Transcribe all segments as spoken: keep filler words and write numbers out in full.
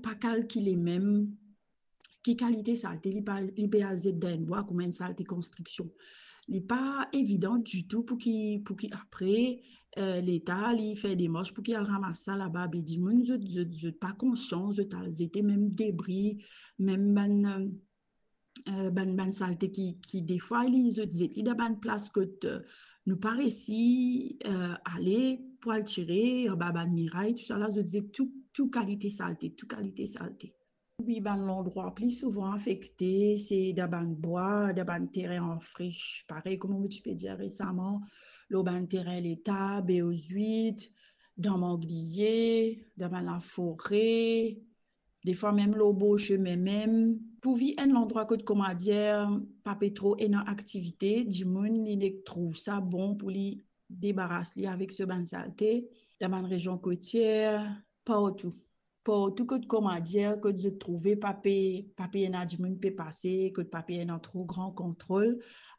pa kalkile mem ki kalite salte li pa, li pe al zet dan enn bwa kouma enn salte konstriksion. Li pa evidan ditou pou ki, pou ki apre, eh, Leta li fer demars pou ki al ramas sa laba. Be dimoun, zot, zot, zot pa konsian, zot al zete mem debri, mem bann, eh, bann, bann salte ki, ki defwa li, zot zet li dan bann plas kot, eh, nou pa resi, eh, ale pou al tire, anba bann miray, tousala, zot zet tou, tou kalite salte, tou kalite salte. Wi, bann landrwa pli souvan afekte, se dan bann bwa, dan bann terin an frich. Parey kouma mo ti pe dir resaman, lor bann terin Leta, B O huit, dan mangliye, dan bann lafore, defwa mem lor bor sime mem. Pou vi enn landrwa kot, kouma dir, pa pe tro ena aktivite, dimoun li nek trouv sa bon pou li debaras li avek so bann salte, dan bann rezion kotier, partou. Partou kot, kouma dir, kot zot trouve pa pe, pa pe ena dimoun pe pase, kot pa pe ena tro gran kontrol,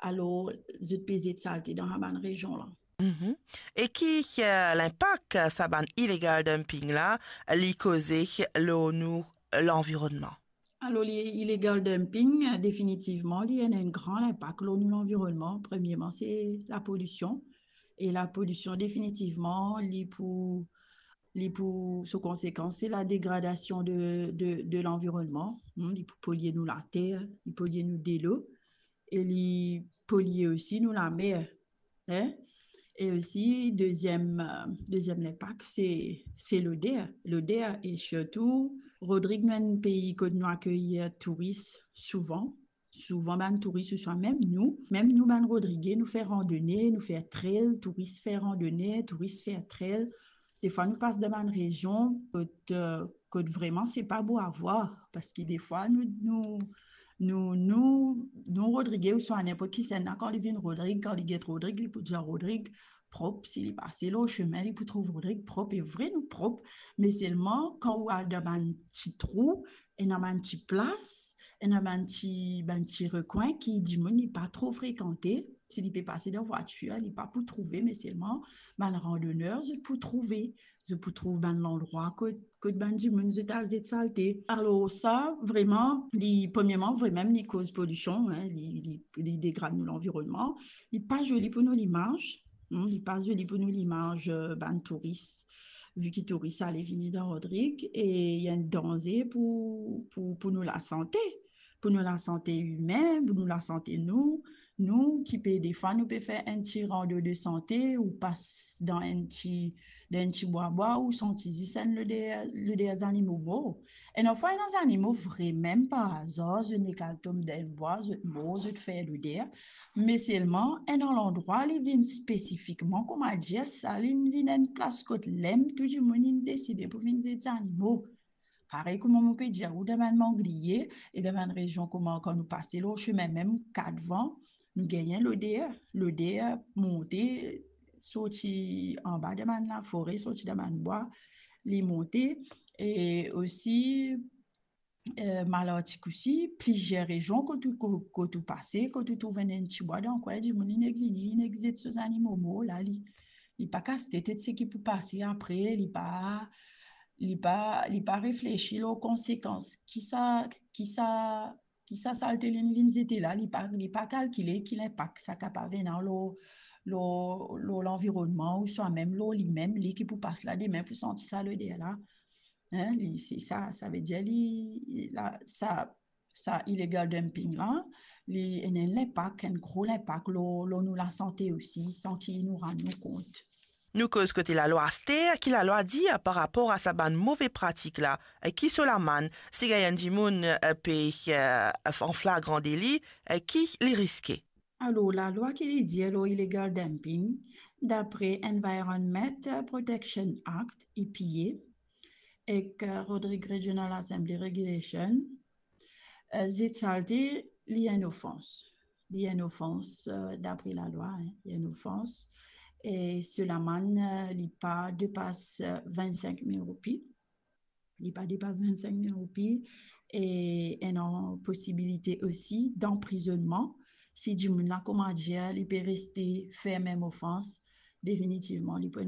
alor zot pe zet salte dan sa bann rezion la. Mhm. E ki, eh, linpak, eh, sa bann illegal dumping la, li koze lor nou lanvironnman? Alor, li illegal dumping, eh, definitivman, li ena enn gran linpak lor nou lanvironnman. Premierman, se lapolision. E lapolision, definitivman, li pou, li pou, so konsekans, se ladegradasion de, de, de lanvironnman. Hmm, li pou polie nou later, li polie nou delo, e li polie osi nou lamer. Hein? E osi, deziem, eh, deziem linpak, se, se loder. Loder, e sirtou, Rodrig, nou enn pei kot nou akey touris souvan. Souvan bann touris, ouswa mem nou, mem nou bann Rodrige, nou fer randone, nou fer trail, touris fer randone, touris fer trail. Defwa nou pas dan bann rezion kot, eh, kot vreman se pa bo a vwar, parski defwa nou, nou, nou, nou, nou Rodrige, ouswa ninport kisannla, kan li vinn Rodrig, kan li get Rodrig, li pou dir Rodrig, prop, si li pase lor sime, li pou trouv Rodrig prop. E vre, nou prop, me selman kan ou al dan bann ti trou, ena bann ti plas, ena bann ti, bann ti rekwin ki dimoun li pa tro frekante. Si li pe pase dan vwatir, li pa pou trouve, me selman bann randoner, zot pou trouve. Zot pou trouv bann landrwa kot, kot bann dimoun zot al zet salte. Alor sa, vreman, li, premierman, vremem, li koz polision, hein, li, li, li degrad nou lanvironnman. Li pa zoli pou nou limaz, hmm, li pa zoli pou nou limaz, eh, bann touris, vi ki touris ale vini dan Rodrig, e li enn danze pou, pou, pou nou lasante, pou nou lasante imin, pou nou lasante nou, nou ki pe, defwa, nou pe fer enn ti rando de sante, ou pas dan enn ti, dan enn ti bwa bwa, ou santi zis enn loder, loder zanimo mor. Ena fwa, ena zanimo vremem par azar, zot nek al tom dan enn bwa, zot mor, zot fer loder. Me selman, ena landrwa, li vinn spesifikman, kouma dir, sa li vinn enn plas kot lem tou dimoun inn deside pou vinn zet zanimo. Parey kouma mo pe dir ou, dan bann mangliye, e dan bann rezion kouma kan nou pase lor sime mem Katvan, nou gagn loder, loder monte, sorti anba dan bann lafore, sorti dan bann bwa, li monte, e osi, eh, Malartik osi, plizier rezion kot ou, ko-, kot ou pase, kot ou trouv enn, enn ti bwa dan kwin, dimoun li nek vini, li nek zet so zanimo mor la, li, li pa kas tet, tet seki pou pase apre, li pa, li pa, li pa reflesi lor konsekans ki sa, ki sa, ki sa salte li vinn zete la, li pa, li pa kalkile ki linpak sa kapav ena lor, lor, lor lanvironnman, ouswa mem lor limem, li ki pou pas la demin pou santi sa loder la. Hein, li, se sa, savedir li, la, sa, sa illegal dumping la, li ena enn linpak, enn gro linpak lor, lor nou lasante osi, san ki nou rann nou kont. Nou koz kote lalwa aster, ki lalwa dir par rapor a sa bann move pratik la, ki so lamann, si gagn enn dimoun, eh, pe, eh, an flagran deli, eh, ki li riske? Alor, lalwa ki li dir lor illegal dumping, dapre Environment Protection Act, E P A, ek, eh, Rodrig Regional Assembly Regulation, eh, zet salte, li enn ofans. Li enn ofans, eh, dapre lalwa, hein, li enn ofans. E so lamann, eh, li pa depas, eh, vinn-sink mil roupi. Li pa depas vinn-sink mil roupi. E ena posibilite osi danprizonnman. Si dimoun la, kouma dir, li pe reste fer mem ofans, definitivman, li pou ena